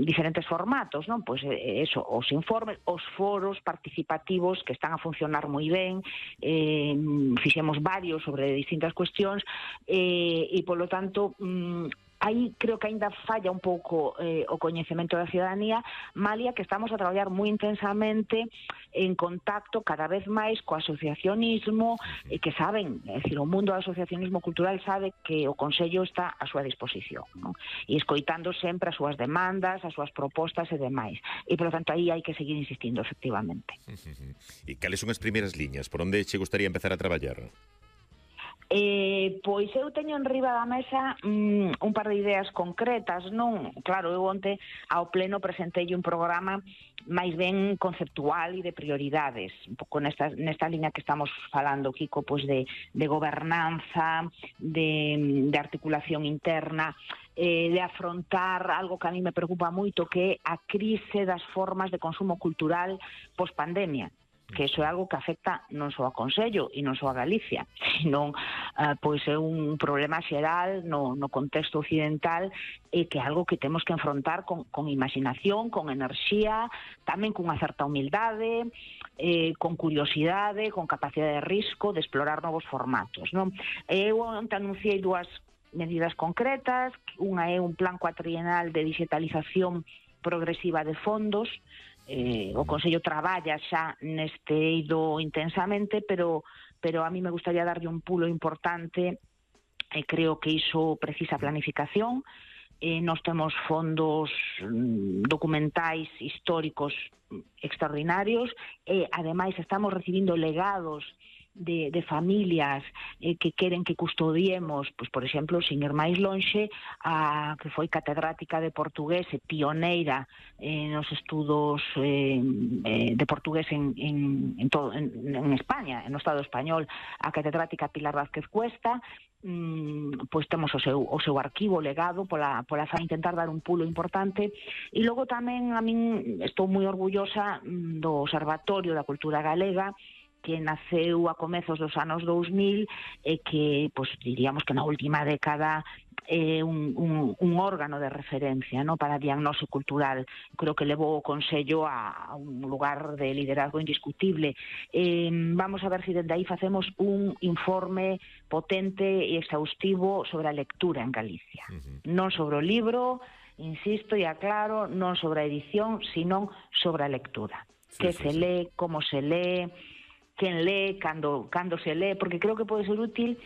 diferentes formatos, non? Pois eso, os informes, os foros participativos que están a funcionar moi ben, fixemos varios sobre distintas cuestións, e polo tanto aí creo que aínda falla un pouco o coñecemento da ciudadanía, malia que estamos a traballar moi intensamente en contacto cada vez máis co asociacionismo, que saben, é dicir, o mundo do asociacionismo cultural sabe que o Consello está a súa disposición, non? E escoitando sempre as súas demandas, as súas propostas e demais. E, por lo tanto, aí hai que seguir insistindo, efectivamente. E cales son as primeiras liñas? Por onde che gustaría empezar a traballar? Pois eu teño en riba da mesa un par de ideas concretas, non? Claro, eu onte ao pleno presentei un programa máis ben conceptual e de prioridades, un pouco nesta liña que estamos falando, Kiko, pois de gobernanza, de articulación interna, de afrontar algo que a mí me preocupa moito, que é a crise das formas de consumo cultural post-pandemia, que iso é algo que afecta non só a Consello e non só a Galicia, senón pois é un problema xeral no contexto occidental, e que é algo que temos que enfrontar con imaginación, con enerxía, tamén cunha certa humildade, con curiosidade, con capacidade de risco, de explorar novos formatos, non? Eu onte anunciei dúas medidas concretas. Unha é un plan cuatrienal de digitalización progresiva de fondos. O Consello traballa xa neste eido intensamente, pero a mí me gustaría darlle un pulo importante, e creo que iso precisa planificación. Nós temos fondos documentais históricos extraordinarios, e ademais estamos recibindo legados de familias que queren que custodiemos, pois, por exemplo, sin ir máis lonxe, a que foi catedrática de portugués e pioneira nos estudos de portugués en España, no Estado español, a catedrática Pilar Vázquez Cuesta. Pois temos o seu arquivo legado para intentar dar un pulo importante. E logo tamén a min estou moi orgullosa do Observatorio da Cultura Galega, que naceu a comezos dos anos 2000 e que, pois, diríamos que na última década é un órgano de referencia, ¿no?, para a diagnose cultural. Creo que levou o Consello a un lugar de liderazgo indiscutible. Vamos a ver se dende aí facemos un informe potente e exhaustivo sobre a lectura en Galicia. Non sobre o libro, insisto e aclaro, non sobre a edición, sino sobre a lectura. Que se lee, como se lee, quen lee, cando se lee, porque creo que pode ser útil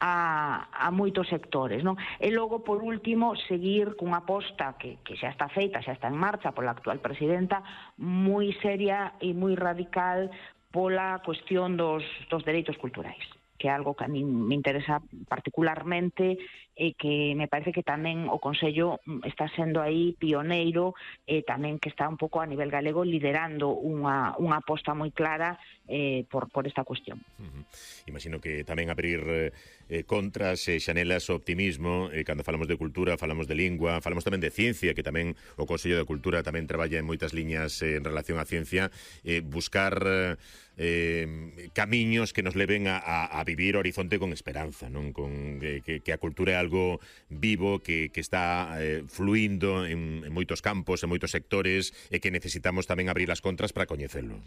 a moitos sectores, non? E logo, por último, seguir cunha aposta que xa está feita, xa está en marcha pola actual presidenta, moi seria e moi radical pola cuestión dos dereitos culturais, que é algo que a mí me interesa particularmente, e que me parece que tamén o Consello está sendo aí pioneiro, e tamén que está un pouco a nivel galego liderando unha aposta moi clara por esta cuestión. Imagino que tamén abrir contras e xanelas o optimismo, cando falamos de cultura, falamos de lingua, falamos tamén de ciencia, que tamén o Consello de Cultura tamén traballa en moitas liñas en relación á ciencia, buscar camiños que nos leven a vivir o horizonte con esperanza, non? Con que a cultura é algo vivo, que está fluindo en moitos campos, en moitos sectores, e que necesitamos tamén abrir as contras para coñecelo.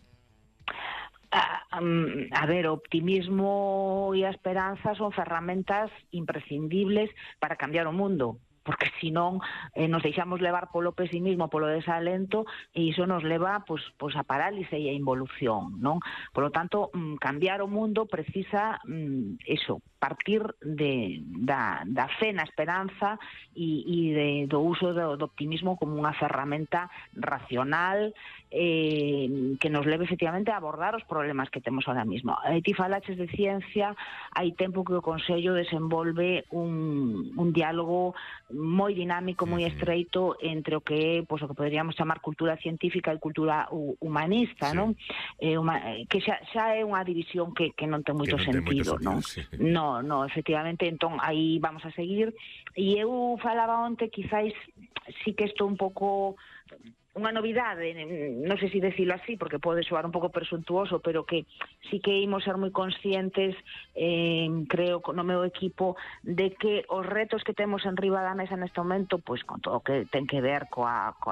A ver, o optimismo e a esperanza son ferramentas imprescindibles para cambiar o mundo, porque senón nos deixamos levar polo pesimismo, polo desalento, e iso nos leva pois a parálise e a involución, non? Por lo tanto, cambiar o mundo precisa eso, partir da fe na esperanza e do uso do optimismo como unha ferramenta racional que nos leve efectivamente a abordar os problemas que temos ahora mismo. Ti falaches de ciencia, hai tempo que o Consello desenvolve un diálogo moi dinámico, moi estreito entre o que é, pois, o que poderíamos chamar cultura científica e cultura humanista, non? Que xa é unha división que non ten moito sentido, non? No, efectivamente, entón aí vamos a seguir. E eu falaba onte, quizáis sí que estou un pouco unha novidade, non sei se decirlo así, porque pode soar un pouco presuntuoso, pero que sí que imos ser moi conscientes, creo, no meu equipo, de que os retos que temos en riba da mesa neste momento, pois con todo o que ten que ver coa